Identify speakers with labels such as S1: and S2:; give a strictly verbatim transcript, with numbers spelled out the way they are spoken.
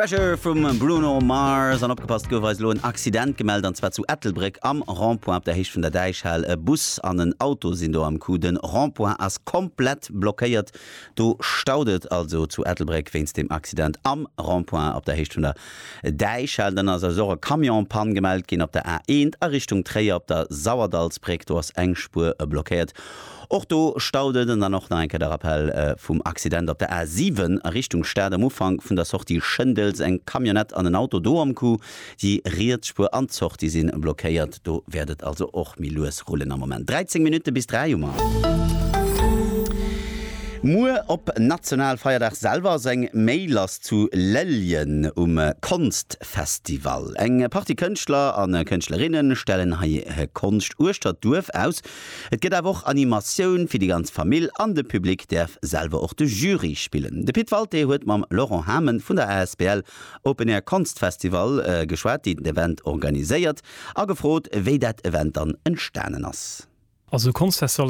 S1: Treasure vum Bruno Mars. An opgepasst, gouf eis elo en Accident gemellt, an zwar zu Ettelbréck am Rond-point op der Héicht vun der Däichhal. E Bus an en Auto sinn do am Coup. Den Rond-point ass komplett blockéiert. Do staut et also zu Ettelbréck wéinst dem Accident am Rond-point op der Héicht vun der Däichhal. Dann ass eis och e Camion en panne gemellt ginn op der A eent a Richtung Tréier op der Sauerdallsbréck. Do ass eng Spuer blockéiert. Och do staut et. An dann och nach eng Kéier de Rappel vum Accident op der A siwen a Richtung Stad am Ufank vun der Sortie Schëndels. Eng Camionnette an en Auto do am Coup. Déi riets Spuer an d'Sortie si blockéiert. Do wäert et also och méi lues rullen am Moment. dräizéng Minutte bis dräi hu mer. Muer op Nationalfeierdag selwer ass eng Méi lass zu Lellgen um Konstfestival. Eng Partie Kënschtler a Kënschtlerinne stellen hei hir Konscht uechter d'Duerf aus. Et gëtt awer och Animatioun fir déi ganz Famill an de Public däerf selwer och de Jury spillen. De Pit Walté huet mam Laurent Hamen vun der asbl Open Air Konstfestival geschwat, déi den Event organiséiert, a gefrot, wéi dat Event dann entstanen ass.
S2: Also Konstfestival ass